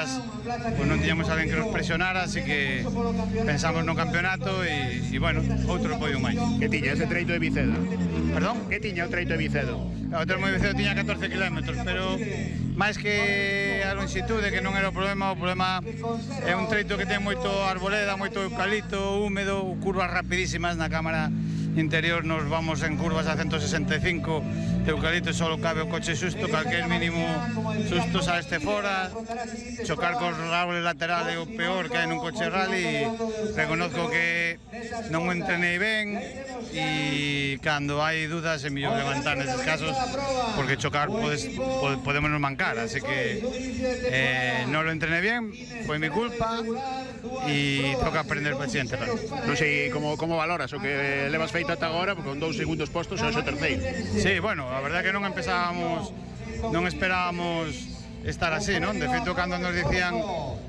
atrás pues non tiñamos alguén que nos presionara, así que pensamos no campeonato e bueno, outro podio máis. Que tiña ese treito de Vicedo? Perdón? Que tiña o treito de Vicedo? O treito de Vicedo tiña 14 km, pero máis que a longitude, que non era o problema é un treito que ten moito arboleda, moito eucalipto, húmedo, curvas rapidísimas. Na cámara interior nos vamos en curvas a 165 de eucalipto, só cabe o coche xusto, calquer mínimo susto saleste fora. Chocar cos árboles laterales é o peor que hai nun coche rally. Reconozco que non o entrenei ben e cando hai dudas é mellor levantar neses casos, porque chocar podemos nos mancar, así que non lo entrené bien, foi mi culpa e toca aprender para siguiente rally. Non sei como valoras o que levas feito ata agora, porque con 2 segundos postos é o terceiro. Sí, bueno, a verdade é que non esperábamos estar así, non? De feito, cando nos dicían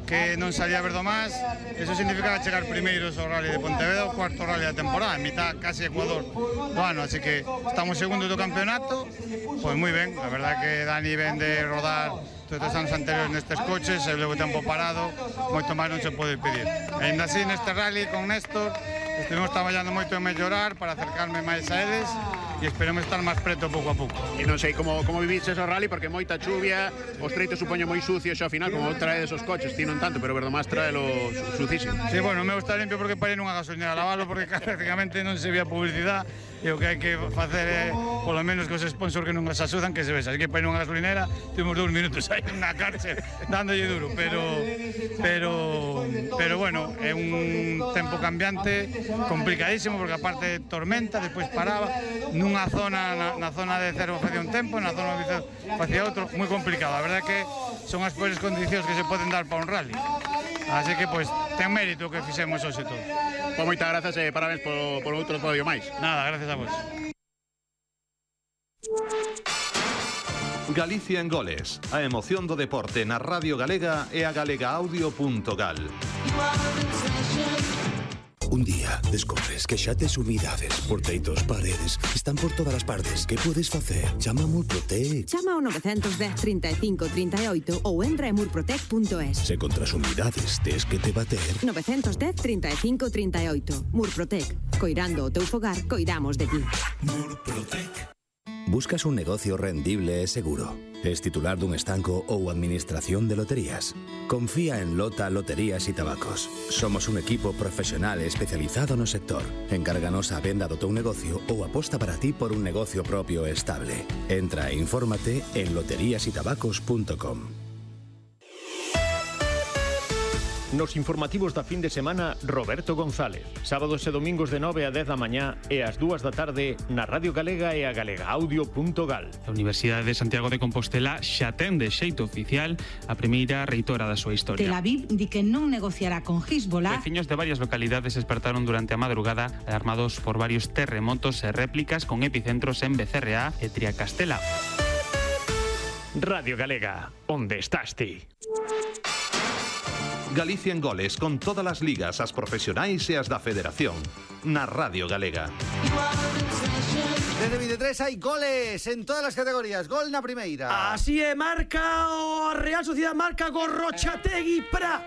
que non salía Verdomás, eso significaba chegar primeiros ao Rally de Pontevedra, o cuarto Rally da temporada, en mitad casi Ecuador do ano, así que estamos segundos do campeonato, pois moi ben, a verdade que Dani ven de rodar todos os anos anteriores nestes coches, e levo tempo parado, moito máis non se pode pedir. E ainda así, neste Rally con Néstor, estivemos traballando moito en mellorar para acercarme máis a eles e esperemos estar máis preto pouco a pouco. E non sei como viviches o rally, porque moita chuvia, os treitos supoño moi sucios ao final, como trae esos coches, ti non tanto, pero Verdomás traelo sucísimo. Sí, bueno, o meu está limpio porque parei nunha gasolinera a lavalo, porque prácticamente non se vía publicidade, e o que hai que facer é, polo menos que os sponsors que non nos axudan, que se vexa. Así que parei nunha gasolinera, tivemos 2 minutos aí na cárcel, dándolle duro, pero bueno, é un tempo cambiante, complicadísimo, porque aparte tormenta, despois paraba, nunha zona, na zona de Cervo facía un tempo, na zona de Vicedo facía outro, moi complicado. A verdade é que son as peores condicións que se poden dar para un rally. Así que, pois, ten mérito que fixemos hoxe todo. Pois moitas grazas e parabéns por outro podio máis. Nada, gracias a vos. Galicia en goles, a emoción do deporte na Radio Galega e a galegaaudio.gal. Un día descobres que xa tes umidades por teitos, paredes, están por todas as partes. Que podes facer? Chama a Murprotec. Chama ao 910 35 38 ou entra en murprotec.es. Se contra as umidades tes que te bater. 910 35 38. Murprotec. Coirando o teu fogar, coidamos de ti. Murprotec. Buscas un negocio rendible e seguro? Es titular dun estanco ou administración de loterías? Confía en Lota Loterías e Tabacos. Somos un equipo profesional e especializado no sector. Encárganos a venda do teu negocio ou aposta para ti por un negocio propio e estable. Entra e infórmate en loteriasytabacos.com. Nos informativos da fin de semana, Roberto González. Sábados e domingos de 9 a 10 da mañá e ás 2 da tarde na Radio Galega e a galegaaudio.gal. A Universidade de Santiago de Compostela xa ten de xeito oficial a primeira reitora da súa historia. Tel Aviv di que non negociará con Hezbollah. Veciños de varias localidades despertaron durante a madrugada alarmados por varios terremotos e réplicas con epicentros en Becerreá e Triacastela. Radio Galega, onde estás ti? Galicia en goles, con todas as ligas, as profesionais e as da Federación. Na Radio Galega. Desde 23 hai goles en todas as categorías. Gol na primeira. Así é, marca o Real Sociedade, marca Gorrochategui para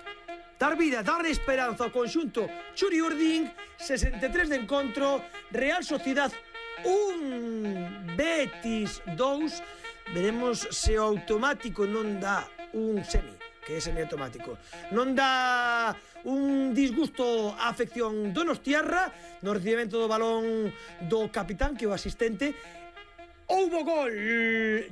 dar vida, dar esperanza ao conxunto Churi Urdín. 63 de encontro, Real Sociedade 1, Betis 2. Veremos se o automático non dá un semi, que é semiautomático. Non dá un disgusto á afección donostiarra no recibimento do balón do capitán, que é o asistente. Houbo gol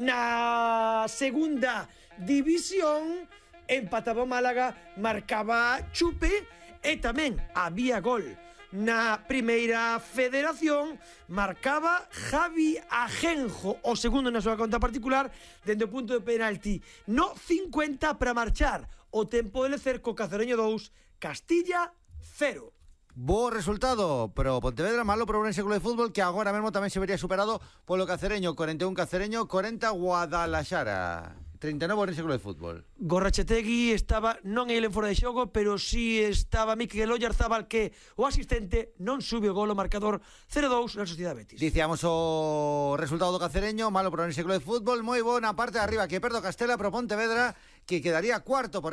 na segunda división, empataba o Málaga, marcaba Chupe, e tamén había gol na primeira federación, marcaba Javi Ajenjo, o segundo na súa conta particular, dende o punto de penalti no 50 para marchar o tempo de lecer co Cacereño 2, Castilla 0. Bo resultado, pero Pontevedra malo para o Ourense Club de Fútbol, que agora mesmo tamén se vería superado polo Cacereño. 41 Cacereño, 40 Guadalaxara. 39 Ourense Club de Fútbol. Gorrochategui estaba non ele fora de xogo, pero si estaba Mikel Oyarzábal, que o asistente non sube o gol o marcador 0-2 na Sociedade Betis. Dicíamos o resultado do Cacereño, malo para o Ourense Club de Fútbol, moi bo na parte de arriba, que perdo Castela pro Pontevedra, que quedaría cuarto por riba.